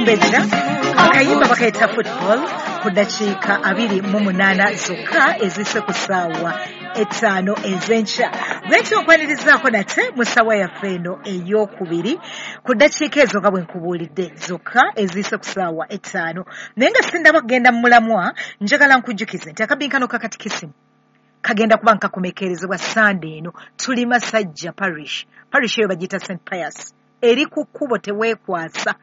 Mbejja akayimba bakayita Football ku ddakiika 28 zokka ezise ku ssaawa 5 ez'enkya. Bwentyo nkwanirizaako nate mu ssaawa yaffe eno ey'okubiri ku ddakiika ezo nga bwe nkubuulidde zokka eziyise ku ssaawa 5. Naye nga sindaba kugenda mu mulamwa, njagala nkujjukize nti akabinkano ka katikisimu kagenda kuba nkakomekerezebwa Sande eno. Tuli Masajja Parish. Parish eyo bagiyita St Pius. Eri ku kkubo teweekwasa.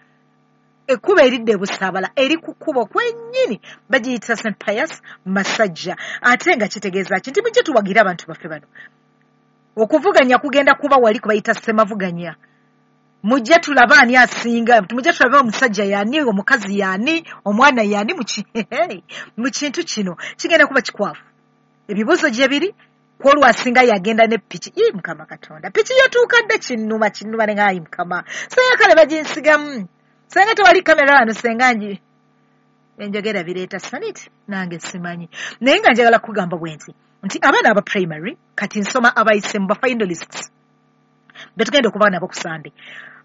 Ekkubo eridda e Busaabala eri ku kkubo kwennyini, bagiyita St Pius Masajja. Ate nga kitegeeza ki nti mujje tuwagire abantu baffe bano. Okuvuganya kugenda kuba wali kubayita ssemavuganya. Mujje tulabe ani asinga, mujje tulabe omusajja y'ani, omukazi y'ani, omwana y'ani mu kintu kino. Kigenda kuba kikwafu. Ebibuuzo gye biri, kwolwo asinga yagenda ne piki. Ii Mukama Katonda, piki yatuuka dda, kinnuma kinnuma ne ngaayi Mukama. Senga kale baginsigamu. Senga tewali kamera wano, senga nji enjogera bireeta saniti nange simanyi. Naye nga njagala kugamba bwe nti abaana aba primary kati nsoma abayise mu ba finalists betugenda okuba nabo ku Sunday.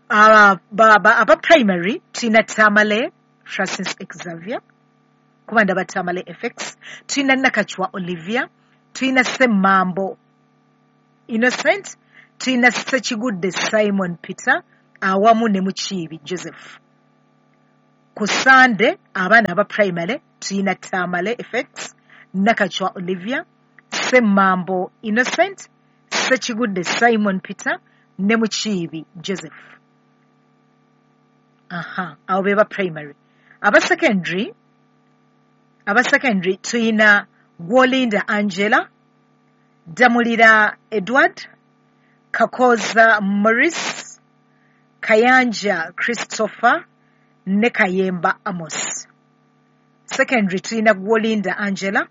Aba primary tulina Tamale Francis Xavier, kuba ndaba Tamale FX, tulina Nakachwa Olivia, tulina Semmambo Innocent, tulina Ssekigudde Simon Peter awamu ne Mukiibi Joseph. Ku Sande abaana aba primary tulina Tamale FX, Nakachwa Olivia, Semmambo Innocent, Ssekigudde Simon Peter ne Mukiibi Joseph. Aha, abo be ba primary. Aba secondary tulina Gwolinda Angela, Damulira Edward, Kakoza Maurice, Kayanja Christopher ne Kayemba Amos. Secondary tulina Gwolinda Angela,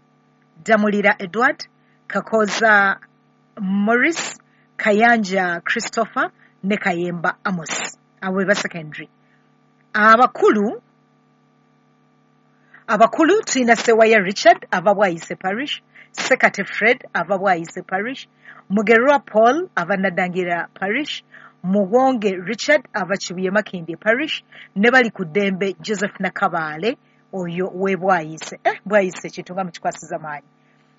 Damulira Edward, Kakoza Maurice, Kayanja Christopher ne Kayemba Amos. Abo be ba secondary. Abakulu tulina Sewaya Richard ava Bwayise Parish, Sekate Fred ava Bwayise Parish, Mugerwa Paul ava Nadangira Parish, Muwonge Richard ava Kibuye Makindye Parish, ne bali ku ddembe Joseph Nakabaale oyo we Bwayise. Bwayise kintu nga mukikwasiza maanyi.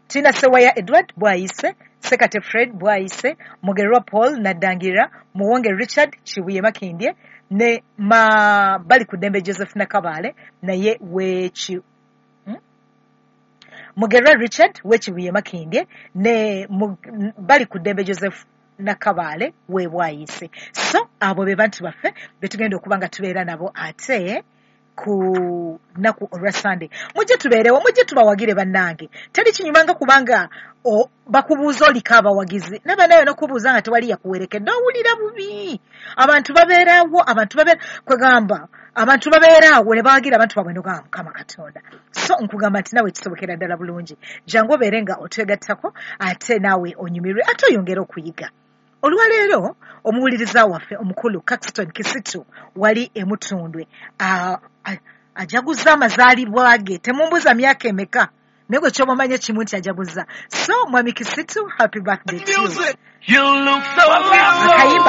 Tulina Sewaya Edward Bwayise, Sekate Fred Bwayise, Mugerwa Paul Nadangira, Muwonge Richard Kibuye Makindye ne bali ku ddembe Joseph Nakabaale naye weki Mugerwa Richard w'Ekibuye Makindye ne bali ku ddembe Joseph Nakabaale we Bwayise. So abo be bantu baffe betugenda okuba nga tubeera nabo ate ku nnaku olwa Sunday. Mujje tubeerewo, mujje tubawagire bannange. Teri kinyumanga kubanga bakubuuza oliko abawagizi naba nayo n'okubuuza nga tewali yakuwerekedde, owulira bubi. Abantu babeerawo, abantu babeera kwegamba abantu babeeraawo ne bawagira abantu baabwe nogamba Mukama Katonda. So nkugamba nti nawe kisobokera ddala bulungi. Jangu obeere nga otwegattako ate naawe onyumirwe ate oyongere okuyiga. Olwaleero omuwuliriza waffe omukulu Caxton Kisitu wali emutundwe ajaguza amazaalibwa ge. Temumbuuza myaka emeka, naye gwe ky'oba kimu nti ajaguza. So mwami Kisitu, happy birthday to you. You look so beautiful. Akayimba